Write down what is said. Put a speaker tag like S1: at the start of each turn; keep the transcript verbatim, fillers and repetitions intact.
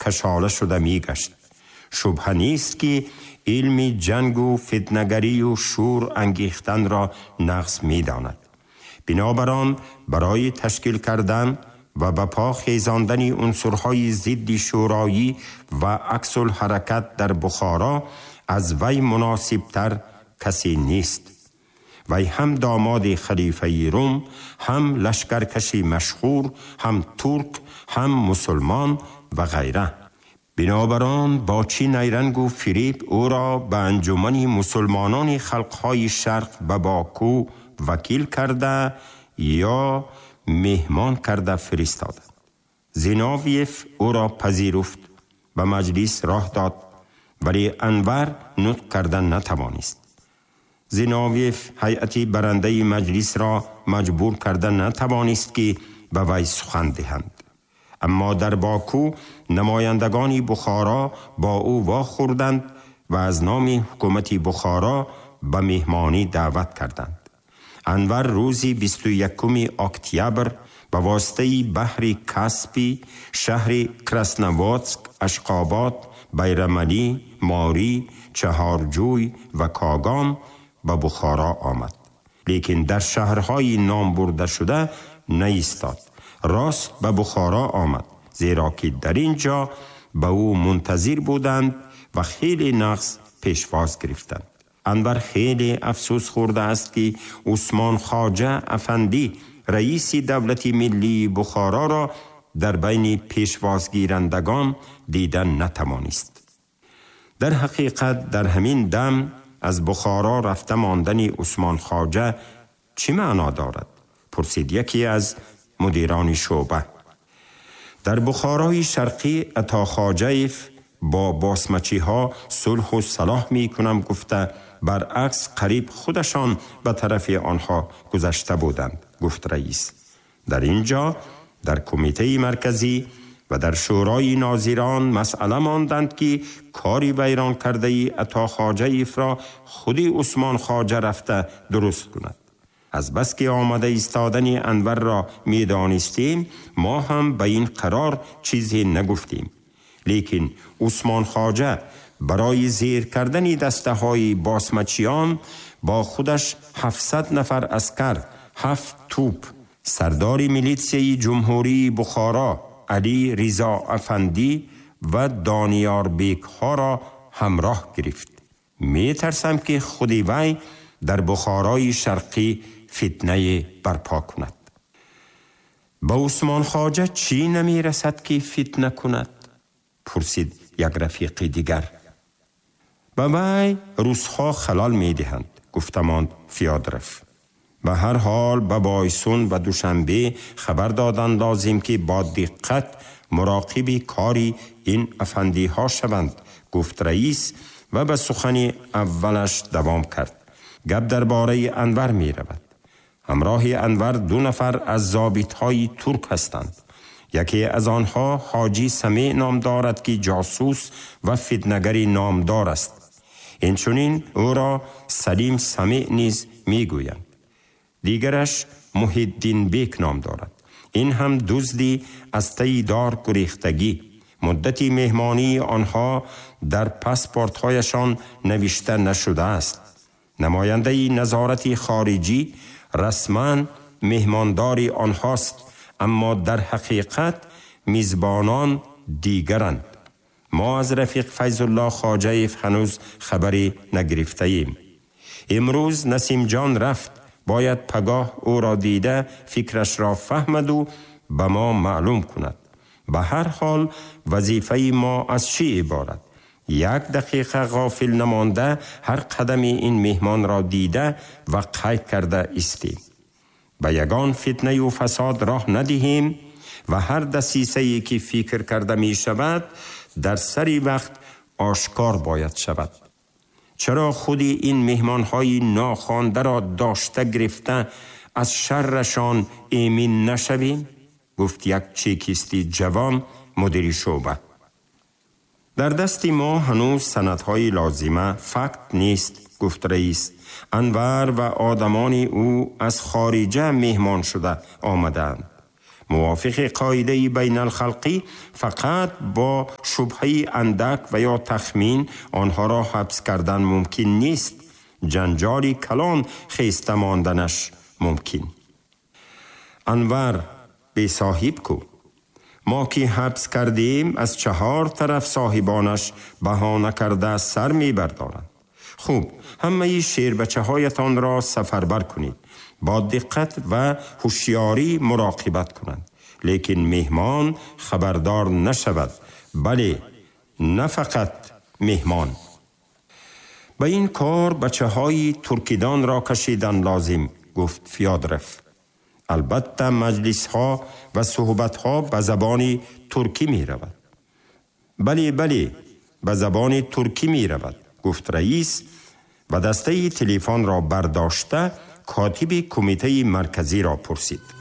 S1: کشاله شده می گشت. شبهه نیست که علم جنگ و فتنگری و شور انگیختن را نقص می داند. بنابراین برای تشکیل کردن و به پا خیزاندن عنصرهای ضد شورایی و عکس الحرکت در بخارا از وی مناسب تر کسی نیست. وی هم داماد خلیفه روم، هم لشکرکشی مشهور، هم ترک، هم مسلمان و غیره. بنابراین با چی نیرنگ و فریب او را به انجمن مسلمانان خلقهای شرق به باکو وکیل کرده یا مهمان کرده فرستادند. زیناویف او را پذیرفت، به مجلس راه داد، ولی انور نطق کردن نتوانست. زیناویف هیئت برنده مجلس را مجبور کردن نتوانست که به وی سخن دهند. اما در باکو نمایندگان بخارا با او واخوردند و از نام حکومت بخارا به مهمانی دعوت کردند. انور روزی بیست و یکم اکتبر به واسطه بحر کاسپی، شهر کراسنواتسک، اشقابات، بیرملی، ماری، چهارجوی و کاگان به بخارا آمد. لیکن در شهرهای نام برده شده نایستاد. راست به بخارا آمد، زیرا که در اینجا به او منتظر بودند و خیلی نقص پیشواز گرفتند. انور خیلی افسوس خورده است که عثمان خواجه افندی رئیس دولت ملی بخارا را در بین پیشوازگیرندگان دیدن نتوانست. در حقیقت در همین دم از بخارا رفته ماندن عثمان خواجه چه معنا دارد؟ پرسید یکی از مدیران شعبه. در بخارای شرقی عطا خواجه‌ایف با باسمچی ها صلح و صلاح می کنم گفته، برعکس قریب خودشان به طرف آنها گذشته بودند، گفت رئیس. در اینجا در کمیته مرکزی و در شورای ناظران مسئله ماندند که کاری ویران کرده ای عطا خواجه‌ایف را خودی عثمان خواجه رفته درست کند. از بس که آمده ایستادن انور را می دانستیم، ما هم به این قرار چیزی نگفتیم. لیکن عثمان خواجه برای زیر کردن دسته های باسمچیان با خودش هفتصد نفر عسکر، هفت توپ، سردار میلیتسیای جمهوری بخارا علی رضا افندی و دانیار بیک ها را همراه گرفت. می ترسم که خودی وی در بخارای شرقی فتنه برپا کند. با عثمان خواجه چی نمی رسد که فتنه کند؟ پرسید یک رفیق دیگر. به وی روسها خلال می دهند، گفتماند فیادرف. به هر حال به بایسون و دوشنبه خبر دادن لازم که با دقت مراقب کاری این افندی ها شوند، گفت رئیس و به سخن اولش دوام کرد. گپ درباره انور می رود. همراه انور دو نفر از ضابط های ترک هستند. یکی از آنها حاجی سمیع نام دارد که جاسوس و فتنه‌گر نامدار است. اینچنین او را سلیم سمیع نیز می گویند. دیگرش محی‌الدین بیک نام دارد. این هم دزدی از تی دار گریختگی. مدتی مهمانی آنها در پاسپورت‌هایشان نوشته نشده است. نماینده نظارت خارجی رسما مهماندار آنهاست، اما در حقیقت میزبانان دیگرند. ما از رفیق فیض الله خواجه‌ایف هنوز خبری نگرفته ایم. امروز نسیم جان رفت، باید پگاه او را دیده فکرش را فهمد و به ما معلوم کند. به هر حال وظیفه ما از چی عبارت؟ یک دقیقه غافل نمانده هر قدم این مهمان را دیده و قید کرده استیم. به یگان فتنه و فساد راه ندهیم و هر دسیسه‌ای که فکر کرده می شود در سری وقت آشکار باید شود. چرا خودی این مهمانهای ناخوانده را داشته گرفته از شرشان ایمن نشویم؟ گفت یک چکیستی جوان مدیر شعبه. در دست ما هنوز سندهای لازمه فکت نیست، گفت رئیس. انور و آدمان او از خارجه مهمان شده آمدند. موافق قاعده بین الخلقی فقط با شبهه اندک و یا تخمین آنها را حبس کردن ممکن نیست. جنجالی کلان خیسته ماندنش ممکن. انور به صاحب کو. ما که حبس کردیم از چهار طرف صاحبانش بهانه کرده سر می بردارند. خوب، همه شیر بچه هایتان را سفربر کنید. با دقت و هوشیاری مراقبت کنند. لیکن مهمان خبردار نشود. بله، نه فقط مهمان. به این کار بچه های ترکیدان را کشیدن لازم، گفت فیادرف. البته مجلس ها و صحبت ها به زبان ترکی می رود. بله بله، به زبان ترکی می رود، گفت رئیس و دسته تلفن را برداشته کاتب کمیته مرکزی را پرسید.